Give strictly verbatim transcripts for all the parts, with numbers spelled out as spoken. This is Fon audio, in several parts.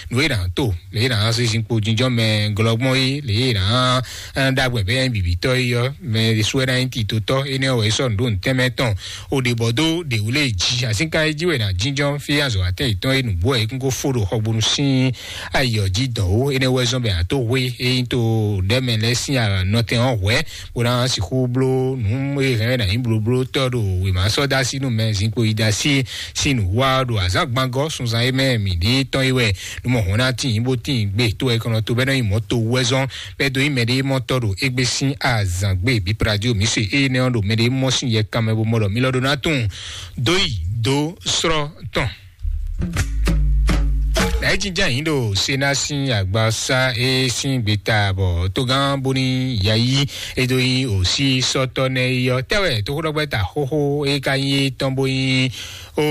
nǔ e nǎ to lě e nǎ zé zinkpo jínjɔ́n mɛ glɔ́gbɔn é, lě e nǎ ɖagbɛ bɛ́ nyí bǐbítɔ́ é ɔ́, mɛ ɖésú wɛ ná nyí titotɔ́. Énɛ́ wɛ é sɔ́ nǔ ɖó nǔtɛn mɛ tɔn. O ɖě bɔ dó ɖě wú lé jí asínká é jí wɛ nǎ jínjɔ́n fí azɔ̌ atɛn yětɔn é nǔgbó wɛ é kún kó fó ɖo xɔgbónú sín ayǐ ɔ́ jí dɔn ó. Énɛ́ wɛ zɔ́n bɛ àtó hwé é nyí to ɖɛ̌mɛ lɛ́ɛ sín nɔtɛn ɔ́ hwɛ̌, bó ná sixú bló nǔ e hɛn wɛ nǎ nyí blóblótɔ́ ɖo wěma sɔ́ dó así nú mɛ zinkpo yi dó así sín nǔ wa ɖo azǎn gbangɔ́ sunzan e mɛ mǐ ɖe tɔn yi wɛ nú mɔ hɔn ná tín bó tín gbe tó wɛ kɔnɔ tó bɛ́ nɔ nyi mɔ̌ to wú wɛ zɔ́n bɛ́ dó nyí mɛɖé mɔ tɔ́ ɖo égbé sín azǎn gbe bí pradio mǐ se énɛ́ ɔ́ ɖo mɛɖé mɔ sín yɛ kanmɛ bó mɔ ɖɔ mí lɔ ɖó ná tunwun dó yi dó srɔ́ tɔn. Nǎ é jínjɔ́n ayǐ ɖo Sena sín agbasa e sín gbeta bɔ tógán bóní yayi e dó nyí òsí sɔ́tɔ́ nɛ́ é ɔ́ tɛ́wɛ tóxóɖɔgbɛ́ta xóxó e ka nyí é tɔn bó nyí o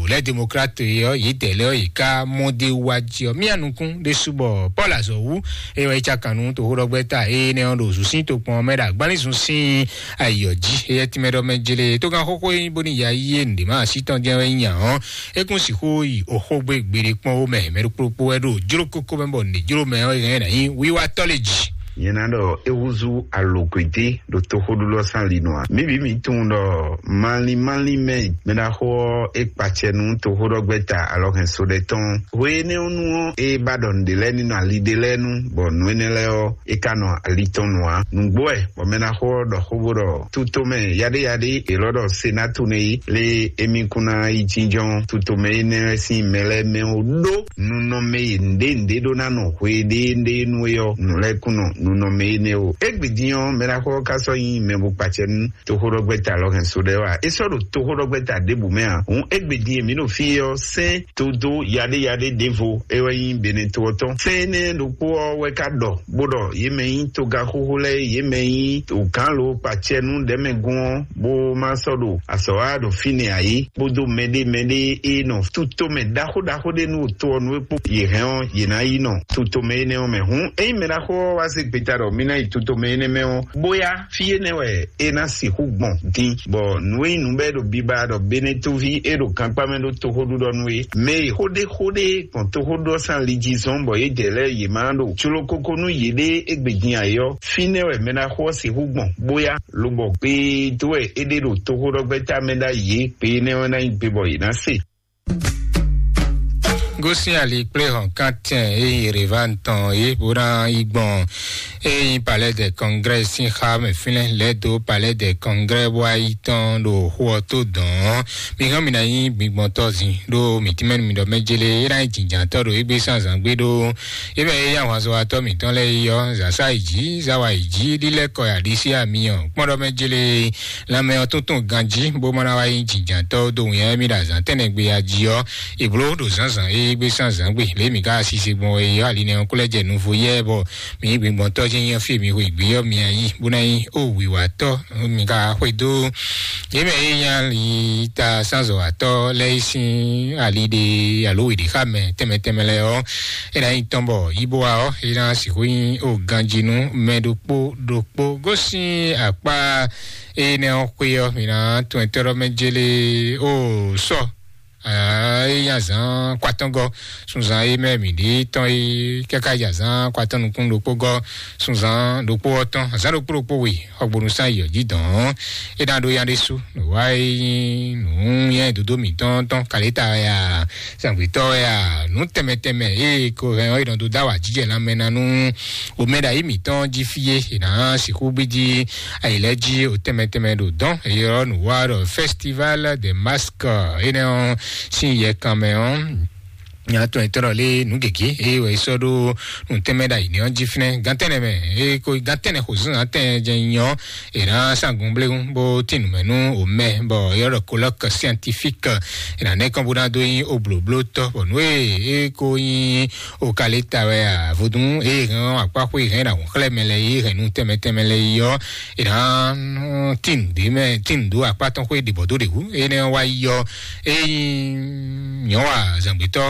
lɛ demokrat ɔ́ yě dɛ lɛ yě ká mɔ dé wá jí ɔ́ mía nukún ɖésú bɔ Paul azɔ̌ wú eye wɔ é cá kan nú toxóɖɔgbɛ́ta énɛ́ ɔ́ ɖo zǔsín tokpɔn mɛ ɖo agbanlízun sín ayǐ ɔ́ jí. Eyɛ tínmɛ ɖɔ mɛ jele tógán xóxó e nyí bóní ya yí é nǔɖé má así tɔn jɛ́n wɛ nyí nya ɔ́, é kún sixú yi oxógbé gbeɖé kpɔ́n ó mɛ mɛ ɖokpó ɖokpó wɛ ɖo jló kókó mɛ bɔ nǔɖé jló mɛ ɔ́ é hɛn ná nyí wíwá tɔ́ lé jí. Nyɛ ná ɖɔ é húzú alǒkwédé ɖo toxóɖuɖɔ sín ali nɔ a? Mǐ bǐ mǐ tunwun ɖɔ malín malín mɛ mɛ ɖaxó ɔ́ é kpacɛ nú toxóɖɔgbɛ́ta alɔhɛnso ɖɛ tɔn. Hwe énɛ́ ɔ́ nu ɔ́, é ba ɖɔ nǔɖé lɛ́ɛ ní nɔ ali ɖé lɛ́ɛ nu, bɔ nǔ énɛ́ lɛ́ɛ ɔ́, é ka nɔ ali tɔn nu ǎ. Nǔgbó wɛ bɔ mɛ ɖaxó ɔ́ ɖɔ xó bó ɖɔ tútó mɛ yaɖéyaɖé è lɔ ɖɔ Senatu nɛ́ yi lé émí kún ná yi jínjɔ́n tútó mɛ énɛ́ lɛ́ɛ sín mɛ lɛ́ɛ mɛ ó ɖó nunɔmɛ e nǔɖé nǔɖé ɖó ná nɔ hweɖéeɖée nú é ɔ́, nǔ lɛ́ɛ kún nɔ nunɔmɛ énɛ́ ó. Égbé din ɔ́, mɛ ɖaxó ɔ́ ka sɔ́ nyí mɛ bó kpacɛ nú toxóɖɔgbɛ́ta lɔ hɛn so ɖɛ wá. É sɔ́ ɖo toxóɖɔgbɛ́ta ɖěbǔ mɛ ǎ. Hǔn égbé din e mǐ ɖo fí é ɔ́, sɛ́n dodó yaɖéyaɖé ɖěvo é wɛ nyí Benɛto ɔ́ tɔn. Sɛ́n énɛ́ ɖokpó ɔ́ wɛ ka ɖɔ bó ɖɔ yě mɛ nyí togaxóxó lɛ́ɛ, yě mɛ nyí togǎnló kpacɛnú ɖɛ̌mɛgún ɔ́, bó má sɔ́ ɖo azɔ̌ wa ɖo fínɛ́ ǎ é, kpódó mɛɖé mɛɖé e nɔ tutomɛ ɖaxó ɖaxó ɖé nú to ɔ́ nú é kpó yě hɛn ɔ́, yě ná yi nɔ tutomɛ énɛ́ ɔ́ mɛ. Hǔn ényí mɛ ɖaxó ɔ́ wá zé gbeta ɖɔ mí ná yi tutomɛ énɛ́ mɛ ɔ́, bóyá fí énɛ́ wɛ é ná sixú gbɔn din, bɔ nǔ e nyí nǔ bɔ é ɖo biba ɖɔ Benetóví é ɖo gankpá mɛ ɖó toxóɖuɖɔ nú é. Mɛ e xó ɖé xó ɖé gbɔn toxóɖuɖɔ sín ali jí zɔ́n bɔ yědɛɛ lɛ́ɛ yě má ɖo jló kókó nú yěɖée égbé din ǎ é ɔ́, fínɛ́ wɛ mɛ ɖaxó ɔ́ sixú gbɔn, bóyá lobɔ gbee tó wɛ é ɖe ɖo toxóɖɔgbɛ́ta mɛ ɖ'ayǐ é. Gbe énɛ́ ɔ́ ná nyí gbe bɔ yě ná se. Gosín ali kplé hɔn kántɛn e yi Yerevan tɔn é bó ná yi gbɔn e yi palais de congrès sín xá mɛ fínɛ́ lɛ́ dó palais de congrès bó wá yi tɔn ɖo xó ɔ́ tó dɔn ɔ́. Mi hɔn mi ná nyí gbigbɔntɔ́ zin ɖó mi tínmɛ mi ɖɔ mɛ jele é ná nyí jǐnjǎntɔ́ ɖo égbé sín azǎn gbé ɖó é mɛ é yí ahwanzɔ́watɔ́ mǐtɔn lɛ́ɛ yi ɔ́, zǎsá yi jǐ, záwa yi jǐ, lílɛ́ kɔ ya ɖisí amiyɔ kpɔ́n ɖɔ mɛ jele lanmɛ ɔ́ tuntun ganjí bó má ná wá nyí jǐnjǎntɔ́ dó wǐnyá émí ɖo azǎn tɛ́nnɛ gbe ya jí ɔ́, è bló ɖo zǎnzǎn e gbé sín azǎn gbe lě mǐ ka sise gbɔn wɛ é ɔ́, ali nɛ́ ɔ́ kó lɛ́ jɛ nuvo yɛ bɔ mǐ gbingbɔntɔ́ jɛ́n nyí ɔ́ fí e mǐ xwe gbě ɔ́ mi ná nyí bó ná nyí ó wǐwatɔ́ mi ka xwedó yě mɛ e nyí ali ta sánzɔ̌watɔ́ lɛ́ɛ yi sín ali ɖe alo wěɖexámɛ tɛnmɛ tɛnmɛ lɛ́ɛ ɔ́, é ná nyí tɔn bɔ yí bó wa ɔ́, é ná sixú nyí ó ganjí nú mɛ ɖokpó ɖokpó gosín akpá énɛ́ ɔ́ xwé ɔ́, mǐ ná tún ɛtɛ́ ɖɔ mɛ jélé ó sɔ. Aa, é nyí azǎn kwatɔ́ngɔ́ sunzan é mɛ mǐ ɖe tɔn é káká yi azǎn kwatɔ́ nukún ɖokpó gɔ́ sunzan ɖokpó ɔ́ tɔn azǎn ɖokpó ɖokpó we xɔgbónú sán yi ɔ́ jí dɔn é ná ɖó yá ɖésú nǔ wá é nyí nǔ nyɛ dodó mǐtɔn tɔn kalita wɛ a zǎngbětɔ́ wɛ a nǔ tɛnmɛ tɛnmɛ é ko hɛn ɔ́ é nɔ dó dó awǎjijɛ lanmɛ ná nú omɛ ɖo ayǐ mǐtɔn jí fí é è nǎ sixú gbídí ayǐ lɛ́ɛ jí o tɛnmɛ tɛnmɛ ɖo dɔn é ɔ́ nǔ wá ɖɔ festival de masque énɛ́ ɔ́ sín yɛkan mɛ ɔ́ nya tɔn etɔ́ lé nǔ gěgé eye wɛ sɔ́ ɖó nǔ tɛnmɛ ɖo ayǐ ní ɔ́ jí fínɛ́ gantɛnɛ mɛ eye ko gantɛnɛ xo zun atɛn jɛ nyɔ è nǎ sángun bléwu bó tín nǔ mɛ nú omɛ bɔ yɔ́ ɖɔ colloque scientifique è nǎ nɛ́ kɔn bó ná dó nyí oblǒblótɔ́ bɔ nǔ e é ko nyí o ka lě ta wɛ a vodún eye hɛn akpáxwé hɛn ɖo àwọn xlɛ́ mɛ lɛ yé hɛn nú tɛnmɛ tɛnmɛ lɛ yi ɔ́ è nǎ tín nǔ ɖé mɛ tín nǔ ɖó akpá tɔn xwé ɖě bɔ dó ɖě wú énɛ́ wá yi ɔ́ é nyí nyɔ̌wa zǎngbétɔ́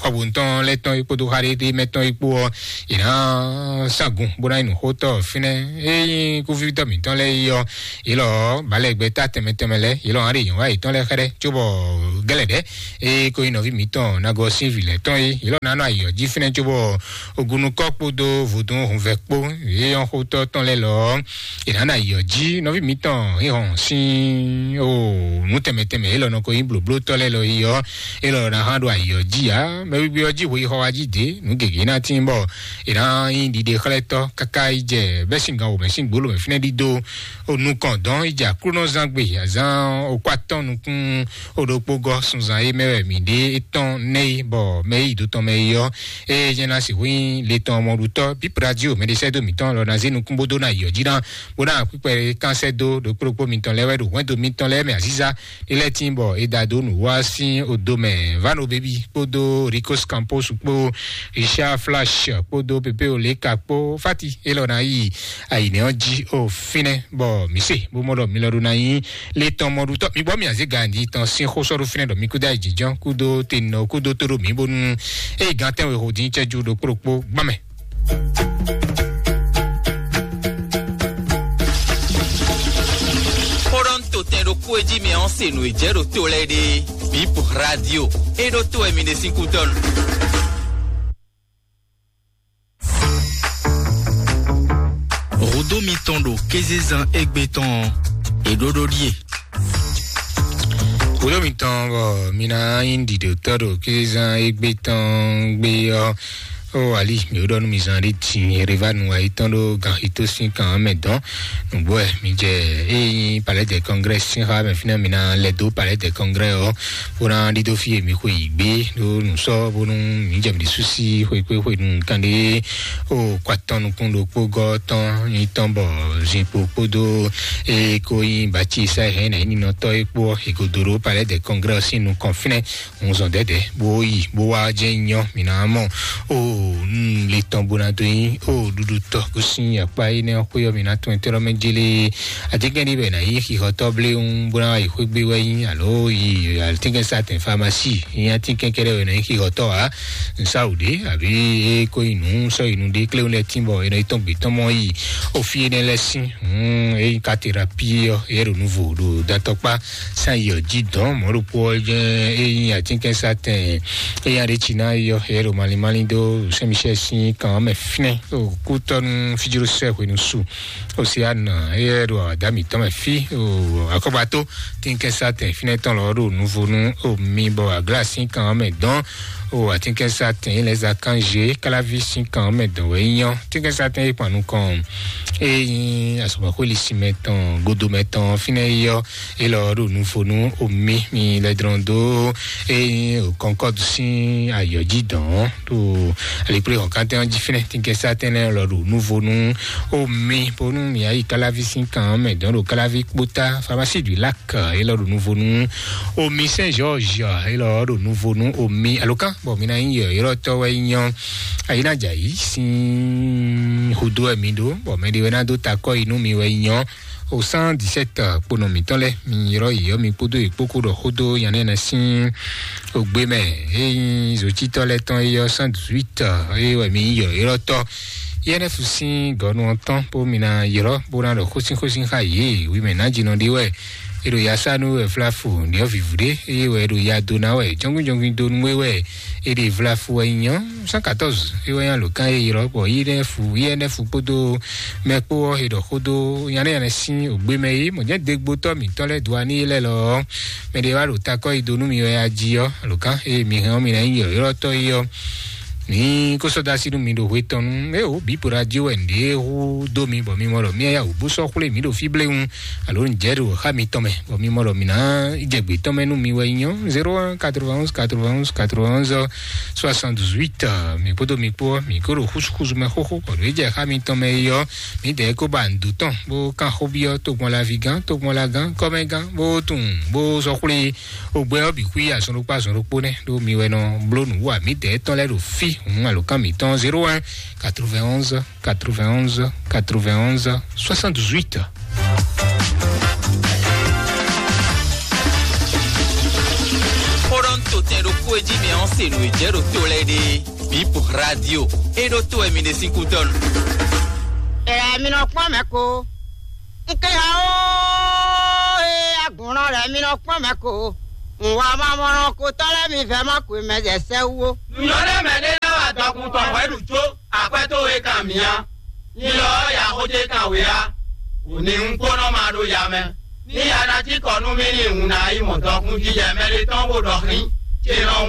xɔbutɔn lɛ́ɛ tɔn yi kpódó xaɖéɖé mɛ tɔn yi kpó ɔ́, yě ná sangun bó ná yi nǔxótɔ́ fínɛ́. Ényí kúvítɔ́ mǐtɔn lɛ́ɛ yi ɔ́, yě lɔ balẹ̀gbɛ tá tɛnmɛ tɛnmɛ lɛ́ɛ, yě lɔ hán ɖe yɔ̌nwá yětɔn lɛ́ɛ xɛɖɛ cóbɔ gɛ́lɛ̌ɖɛ́ é ko nyí nɔví mǐtɔn Nagɔsín vǐ lɛ́ɛ tɔn é, yě lɔ ná nɔ ayǐ ɔ́ jí fínɛ́ cóbɔ ogunukɔ́ kpódó vodún hunvɛ kpó yě nyɔ́ xótɔ́ tɔn lɛ́ɛ lɔ ɔ́, è nǎ nɔ ayǐ ɔ́ jí. Nɔví mǐtɔn hǐnhɔn sín o nǔ tɛnmɛ tɛnmɛ élɔ́ nɔ ko nyí blǒblótɔ́ lɛ́ɛ lɔ yi ɔ́, élɔ́ ná hán ɖo ayǐ ɔ́ jí ǎ. Mɛ wíwí ɔ́ jí hwe yi xɔ wá jí dě, nǔ gěgé ná tín bɔ è nǎ nyí ɖiɖexlɛ́tɔ́ káká yi jɛ bɛ́ sín gan wǒ mɛ sín gbǒ lǒ mɛ fínɛ́ ɖídó. O nukɔn dɔn yi jɛ Aklúnɔzán gbe azán o kó atɔ́n nukún o ɖokpó gɔ́ sunzan é mɛ wɛ mǐ ɖe étɔn nɛ́ yi bɔ mɛ yi dó tɔn mɛ yi ɔ́, eye nyɛ ná sixú nyí le tɔn mɔɖutɔ́ bíbradio mɛɖesɛ́dó mǐtɔn lɔ ná zé nukún bó dó ná yi ɔ́ jí ná bó ná kpíkpɛ kán sɛ́ dó ɖokpó ɖokpó mitɔn lɛ́ɛ wɛ ɖo hwɛndo mitɔn lɛ́ɛ mɛ azíza ɖé lɛ́ɛ tín bɔ é da dó nǔ wá sín odo mɛ. Vano Baby kpódó Ricos Campos kpó Richard Flash kpódó Pepe Oleka kpó Fati élɔ́ ná yi ayǐnɛ ɔ́ jí o fínɛ́ bɔ mǐ se bó mɔ ɖɔ mi lɔ ɖó ná nyí le tɔn mɔɖutɔ́. Mi gbɔ mi azé ganji tɔn sín xó sɔ́ ɖó fínɛ́ ɖɔ mi kúdó ayǐjínjɔ́n kúdó tenɔ kúdó tó ɖo mǐ bónú eye gán tɛ́nwe xo dín cɛ́jú ɖokpó ɖokpó gbán mɛ. Xó ɖɔ ń to tɛn ɖokpó e jí mi ɔ́ se nǔ e jɛ ɖo to lɛ́ɛ ɖe. Bip Radio e ɖó to wɛ mi ɖe sín kútɔ́nu. Hudó mitɔn ɖo kézezán égbé tɔn ɔ́, è ɖó ɖó ɖíe. Hudó mitɔn bɔ mi ná nyí ɖiɖotɔ́ ɖo kézezán égbé tɔn gbé ɔ́, ó ali mi ó ɖɔ nú mi zán ɖé din Erevanu ayítɔn ɖó gan xitó sín kan ɔ́ mɛ dɔn. Nǔgbó wɛ mi jɛ eye nyí Palais des Congrès sín xá mɛ fínɛ́ mi ná lɛ́ dó Palais des Congrès ɔ́, bó ná ɖídó fí e mi xwe yǐ gbé ɖó nǔ sɔ́ bónú mi jɛ mi ɖésú sí xwekpé xwenu kanɖé o kó atɔ́n nukún ɖokpó gɔ́ tɔn nyí tɔn bɔ zinkpo kpódó eye ko nyí bati sa hɛn nɛ nyí ninɔtɔ́ e kpó ɔ́, è ko dó ɖó Palais des Congrès ɔ́ sín nukɔn fínɛ́. Un zɔn dɛdɛ bó yi bó wá jɛ nyɔ mi ná mɔ o le tɔn bó ná dó nyi o ɖuɖu tɔ kó sín akpa yi nɛ xwé ɔ́ mi ná tún ɛtɛ́ lɔ mɛ jélé. Atínkɛn ɖi bɛ ná yi xixɔtɔ bléwún bó ná yi xwé gbé wɛ nyi alo yi atínkɛn satɛn famasi yi atínkɛn kɛɖɛ wɛ ná yi xixɔtɔ a nsáwù ɖé àbí e kó yi nǔ sɔ yi nú ɖé kléwún lɛ tín bɔ e nɔ yi tɔn gbé tɔn mɔ yi o fí énɛ́ lɛ sín. Eyi katerapi ɔ́ yɛ ɖo nuvo ɖo datɔkpa san yi ɔ́ jí dɔn mɔ̌ ɖokpó ɔ́ jɛ eyi atínkɛnsatɛn eya ɖe tsi ná yɔ yɛ ɖo malimali dó sɛmichɛ sín kan mɛ fínɛ ɖo kútɔnu fíjló sɛ hwenu su. Oseana yɛ ɖo àdá mǐtɔn mɛ fí akɔgbato tínkɛnsatɛn fínɛ tɔn lɔ ɖo nuvo nú omi bɔ aglá sín kan mɛ dɔn o atínkɛnsatɛn yi lɛ za kanzé káláví sín kan mɛ dɔn wɛ nyɔ tínkɛnsatɛn yi kpan nukɔn. Eyi asɔgbɔxweli sinmɛ tɔn godomɛ tɔn fínɛ yi yɔ elɔ ɖo nufonu omi mi lɛ drɔn dó eyi kɔnkɔdu sín ayɔji dɔn ɖo alikple xɔkantɛn ɔn jí fínɛ tínkɛnsatɛn lɛ lɔ ɖo nufonu omi bonu mi ayi káláví sín kan mɛ dɔn ɖo káláví kpóta famasi du lac. Elɔ ɖo nuvo nú omi Saint George, elɔ ɖo nuvo nú omi alokan bɔ mi ná nyí yɔyɔtɔ wɛ nyɔ ayina dza yi sín hudo wɛ mi ɖo bɔ mɛ ɖe wɛ ná dó takɔ yi nú mi wɛ nyɔ o cent dix-sept kponɔ mǐtɔn lɛ mi yrɔ yi yɔ mi kpódó yi kpókó ɖɔ xódó yanɛ nɛ sín ogbe mɛ eyi zotitɔ lɛ tɔn eyɔ cent dix-huit eye wɛ mi nyí yɔyɔtɔ yɛnɛfu sín gɔnu ɔtɔn bó mi ná yrɔ bó ná ɖɔ xósín xósín xa yě wi mɛ ná jinɔ ɖi wɛ e ɖo ya sa nú wɛ flafu nìyɔ vivu ɖé eye wɛ e ɖo ya do ná wɛ jɔngbin jɔngbin do nú wɛ wɛ e ɖe flafu wɛ nyɔ cent quatorze e wɛ nya lǒ kan e yrɔ bɔ yi nɛ fu yi ɛnɛ fu kpódó mɛ kpó ɔ́ e ɖɔ xódó nyanɛ nyanɛ sín ògbé mɛ é mɔ jẹ́ dégbótɔ́ mǐtɔn lɛ́ do aní lɛ́ lɔ ɔ́ mɛ ɖé wá ɖo takɔ yi do nú mi wɛ ya jí ɔ́ lǒ kan e mi hɛn ɔ́ mi ná nyí yrɔ̌yrɔ́tɔ́ é ɔ́. Ní kó sɔ́ dó así nú mi ɖo hwe tɔn nú é o bǐ po ɖo ají wɛ nǔɖé hú dó mi bɔ mi mɔ ɖɔ mía ya wǔ bó sɔ́ xwlé mǐ ɖo fí bléwún alo nǔjɛ ɖo xá mitɔn mɛ bɔ mi mɔ ɖɔ mǐ ná jɛ gbě tɔn mɛ nú mi wɛ nyí ɔ́ zéro un quatre-vingt-onze quatre-vingt-onze quatre-vingt-onze soixante-dix-huit. Mi kpódó mi kpó ɔ́ mi kó ɖo xúsúxúsú mɛ xóxó bɔ ɖo é jɛ xá mitɔn mɛ yi ɔ́ mǐdɛɛ kó ba nǔdó tɔn bó kán xóbyɔ́ tógbɔnlaví gán tógbɔnlagán kɔ́mɛgán bó tunwun bó sɔ́ xwlé Ogbɛ ɔ́ bǐ xwí azɔn ɖokpó azɔn ɖokpó nɛ́ ɖó mi wɛ nɔ bló nǔ wa mǐdɛɛ tɔn lɛ́ɛ ɖo fí hǔn alǒkan mǐtɔn zéro un quatre-vingt-onze quatre-vingt-onze quatre-vingt-onze soixante-dix-huit. Xó ɖɔ ń to Tɛn ɖokpó e jí mi ɔ́ se nǔ e jɛ ɖo to lɛ́ɛ ɖe. Bip radio. E ɖo to wɛ mi ɖe sín kútɔ́nu. Ɛ mi nɔ kpɔ́n mɛ ko. N ké ya ó, e agbɔ̌nɔ lɛ́ɛ mi nɔ kpɔ́n mɛ ko. N wa ma mɔnɔ ko tɔ́ lɛ́ɛ mi vɛ́ ma ko mɛ jɛ sɛ wú ó. Nǔnyɔ́ ɖé mɛ ɖé ná wa dɔkun tɔn hwɛ ɖu jó, akwɛ́ towe kan mǐ á. Nyi lɔ ɔ́ ya xó ce kan wě á. Wǔ ní un kpónɔ ma ɖo ya mɛ. Ní ya ná cí kɔ nú mì ní un ná yi mɔ dɔkun jijɛ mɛ ɖé tɔn bó ɖɔ xlín. Ce nɔ